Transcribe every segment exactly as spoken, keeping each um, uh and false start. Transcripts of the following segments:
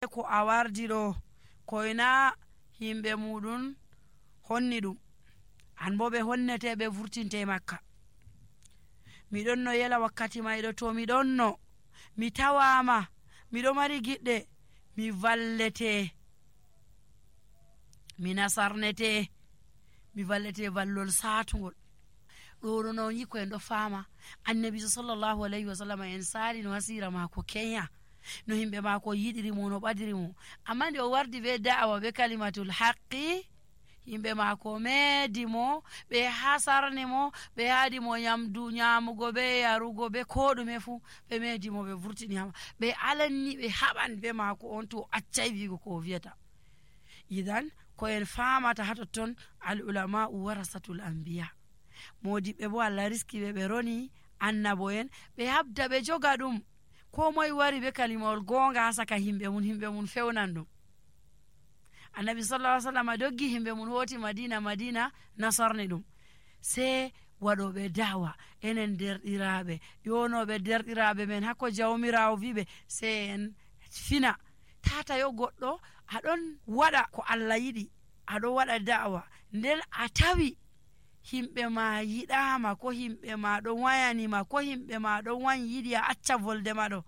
ko a wardi ɗo koyna himɓe muɗum honni ɗum, an bo ɓe honnete ɓe vurtinte makka. miɗon no yela wakkati mayɗo to miɗon no mi tawama miɗo mari giɗɗe mi vallete, mi nasarnete, mi vallete vallol satugol. ɗo no yi ko en ɗo fama annabi sallallahu alayhi wa sallam en sali no hasira mako kenya no himɓe mako yiɗirimo no ɓadirimo, amma nde o wardi be da'awa be kalimatul haqqi yimɓe mako meedimo, ɓe hasarnimo, ɓe haadimo nyamdu nyamugo be yarugo be ko ɗume fu ɓe meedimo, ɓe vurtiniyama, ɓe alanni ɓe haɓan be mako on to accai wigo ko o wiyata. idan ko en famata ha totton al ulama warasatul anbiya, modiɓɓe bo Allah riskiɓe ɓe roni annabo en, ɓe habda ɓe joga ɗum, ko moye wari be kalimawol gonga ha saka himɓe mun, himɓe mun fewnan ɗum. annabi sallallahu alaihi wasallam doggi himɓe mun hoti madina madina nasarni ɗum, sai waɗoɓe dawa enen derɗiraɓe yonoɓe derɗiraɓe men hakko jawmirawo wiɓe sai en fina tata yo goɗɗo aɗon waɗa ko Allah yiɗi, aɗon waɗa da'awa nden a tawi himɓe ma yiɗama, ko himɓe ma ɗon wayanima, ko himɓe ma ɗon wan yiɗi a acca volde maɗo,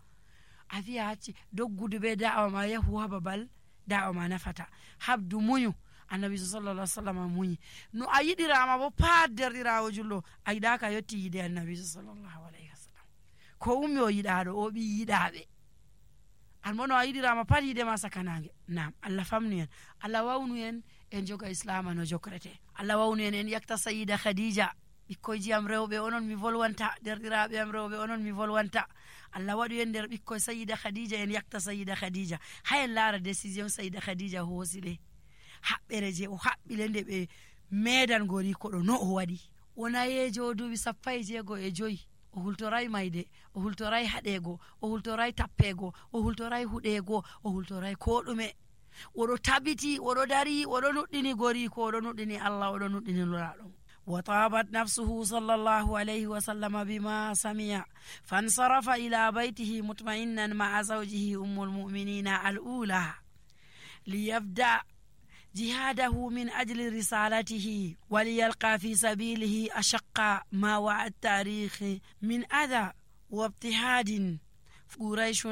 a wiya acci doggudu be da'awa ma yahu ha babal da'awa ma nafata. habdu muñu, annabi sallallahu alaihi wasallam muñi, no a yiɗirama bo pat derɗirawo julɗo a yiɗaka yetti yide annabi sallallahu alaihi wasallam, ko ummi o yiɗaɗo o ɓi yiɗaɓe, an bo no a yiɗirama pat yidema sakanage. nam Allah famnu en, Allah wawnu en en joga islama no jokrate, Allah wawnu en en yakta sayida khadija. ɓikkoyji am rewɓe onon mi volwanta, derɗiraɓe am rewɓe onon mi volwanta, Allah waɗu en nder ɓikkoy sayida khadija, en yakta sayida khadija. ha en laara décision sayida khadija hoosiɗe, haɓɓere je o haɓɓile nde ɓe meedan gori ko ɗo no o waɗi. o nayejo duuɓi sappo e jeego e joyi, o hultoray mayde, o hultoray haɗego, o hultoray tappego, o hultoray huɗego, o hultoray ko ɗume. oɗo tabiti, oɗo dari, oɗo nuɗɗini gori ko, oɗo nuɗɗini Allah, oɗo nuɗɗini luraɗo. وطابت نفسه صلى الله عليه وسلم بما سمع فانصرف إلى بيته مطمئنا مع زوجه أم المؤمنين الأولى ليبدأ جهاده من أجل رسالته وليلقى في سبيله أشق ما وعى التاريخ من أذى واضطهاد. قريش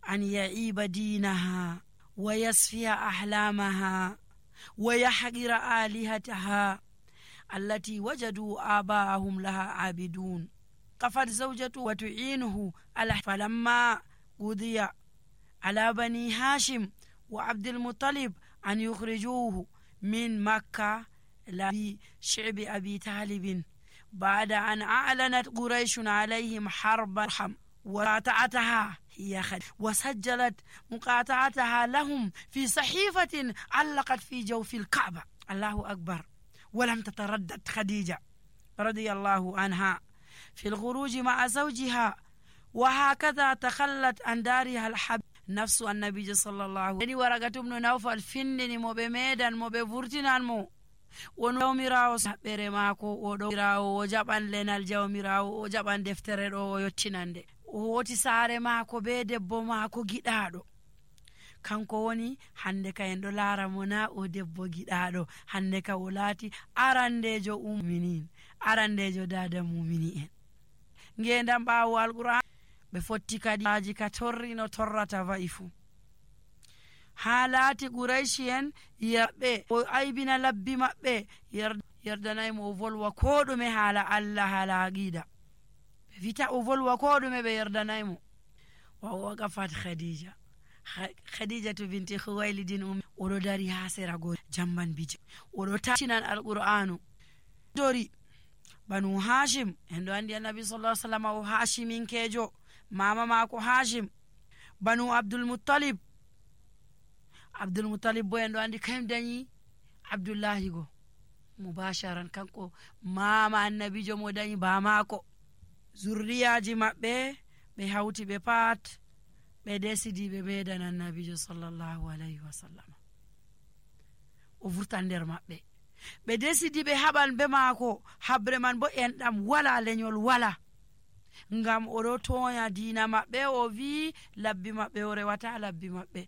أن يعيب دينها ويسفي أحلامها ويحقر آلهتها التي وجدوا آباءهم لها عابدون. قفت زوجته وتعينه على، فلما قضي على بني هاشم وعبد المطلب أن يخرجوه من مكة لشعب أبي طالب بعد أن أعلنت قريش عليهم حرب الرحم وقاطعتها هي خد وسجلت مقاطعتها لهم في صحيفة علقت في جوف الكعبة. الله أكبر. ولم تتردد خديجة رضي الله عنها في الخروج مع زوجها، وهكذا تخلت عن دارها الحب نفس النبي صلى الله عليه وسلم. ورقة بن نوفل فنني مو بميدان مو بفرتنان مو ونومراو سبري ماكو ودومراو وجبان لنال جومراو وجبان دفتر او يوتينande woti saare maako be debbo maako giɗaɗo. kanko woni hande ka en ɗo laara mo na o debbo giɗaɗo, hande ka o laati arandejo uminin, arandejo dada mumini en. ngendam ɓaawo alquran ɓe fotti kadiaji ka torri no torrata wa'i fu. ha laati quraishi en yerɓe o aybina labbi maɓɓe yerdanaymo o volwa ko ɗume haala Allah, haala aqida. ɓe wita o volwa ko ɗume ɓe yerdanaymo. wa waqafat khadija, khadija to binti khuwailidin um oɗo dari ha sera go jamban bije, oɗo tatinan alqur'anu dori. banu hashim en ɗo andi annabi sallallahu alaihi wasallam o hashiminkejo, mama mako hashim. banu abdul muttalib, abdul muttalib bo en ɗo andi kayum dañi abdullahi go mubasharan, kanko mama annabijo mo dañi bamako. zurriyaji maɓɓe ɓe hawti ɓe pat ɓe desidi ɓe meedan annabijo sallallahu alayhi wa sallam o vurtan nder maɓɓe. ɓe desidi ɓe haɓan be maako, habre man bo enɗam wala, leñol wala, ngam oɗo toya diina maɓɓe. o wi labbi maɓɓe o rewata labbi maɓɓe.